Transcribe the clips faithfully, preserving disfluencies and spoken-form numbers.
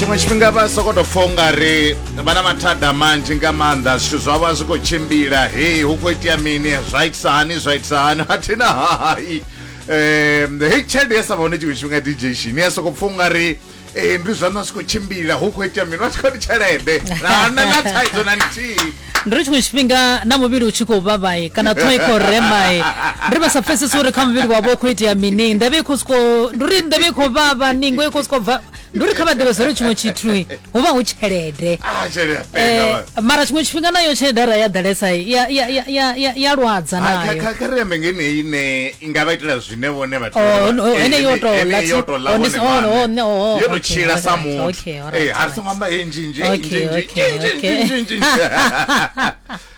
Tshiṅwe tshifhinga vha sokou tou pfha ungari vha na mathada manzhi nga maanḓa, zwithu zwavho a zwi khou tshimbila, hei hu khou itea mini, zwa itisa hani, zwa itisa hani, a thina hai. um hei tshelede ya sa vha hone tshiṅwe tshifhinga D J Shini ya sokou pfha ungari eh, ndi zwaṋu a zwi khou tshimbila, hu khou itea mini, vha tshi khou ndi tshelede na na na thaidzo na nthihi. Ndi ri tshiṅwe tshifhinga na muvhili u tshi khou vhavhai kana ṱhoho i khou remai, ndi ri vha sa pfesesi uri kha muvhili wavho u khou itea mini, nḓevhe i khou siko, ndi uri nḓevhe i khou vhavha, ningo i khou siko bva, ndi uri kha vha ḓivhe uri tshiṅwe tshithu hu vha hu tshelede. Ah, tshelede ya penga. Eh, mara tshiṅwe tshifhinga nayo tshelede arali ya ḓalesa ya ya ya ya ya ya lwadza. Ha, kha- Nayo. kha kha ri ambe ngeneyi ine i nga vha itela zwine vhone vha Oh, no, ene yo tou ḽa yo tou ḽa oh, vhone ndi- oh, vhaṋe. oh, no, oh, yo tou okay, tshila sa alright, muthu. okay, alright, Eh, a ri songo amba he nzhinzhi, Okay, nzhinzhi, okay, nzhinzhi, okay. nzhinzhi,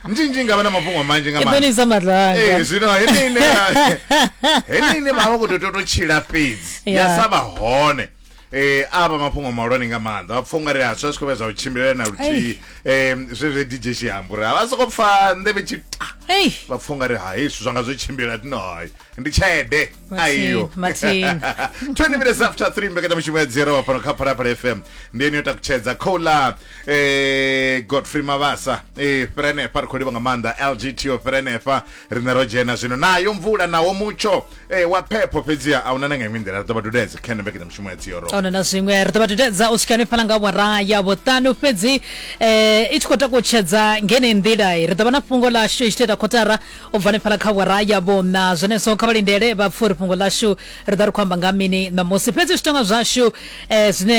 nzhinzhi nga vha na mafhungo manzhi nga I ḓo maanḓa. ni isa maṱanga. Eh, zwino heneyi ine heneyi ine vha vha khou tou tou tshila fhedzi ya Yeah. sa vha hone, eh a vha mafhungo mahulwane nga maanḓa, vha pfha ungari a zwi zwi khou vha zwa u tshimbilela na luthihi. um zwe zwe D J Shiambo uri vha soko pfa nḓevhe tshi ta, Ei. vha pfha ungari hai, zwithu zwanga zwo tshimbila, tino hai ndi tshelede aiyo. Mathina. twenty minutes after three, mbekanyamushumo ya dzero fhano kha Phalaphala F M ndi ene yo takutshedza khoula. eh Godfrey Mavasa, eh fhira henefha, ri khou livha nga maanḓa L G T o fhira henefha. Riṋe ro dzhena zwino nayo mvula nawo mutsho eh wa phepho, fhedziha a huna na nga iṅwe nḓila, ri ḓo vha dudedza kha ino mbekanyamushumo ya dzero. Ona na zwiṅwe ri ḓo vha dudedza u swika hanefhaḽa nga awara ya vhuṱanu, fhedzi eh, i tshi khou takutshedza ngene nḓila ri ḓo vha na fhungo ḽashu i tshi tou ita kotara u bva hanefhaḽa kha awara ya vhuṋa. Zwenezwo kha vha lindele vha pfhe uri fhungo ḽashu ri ḓo ri khou amba nga mini ṋamusi, fhedzi zwitonga zwashu eh, zwine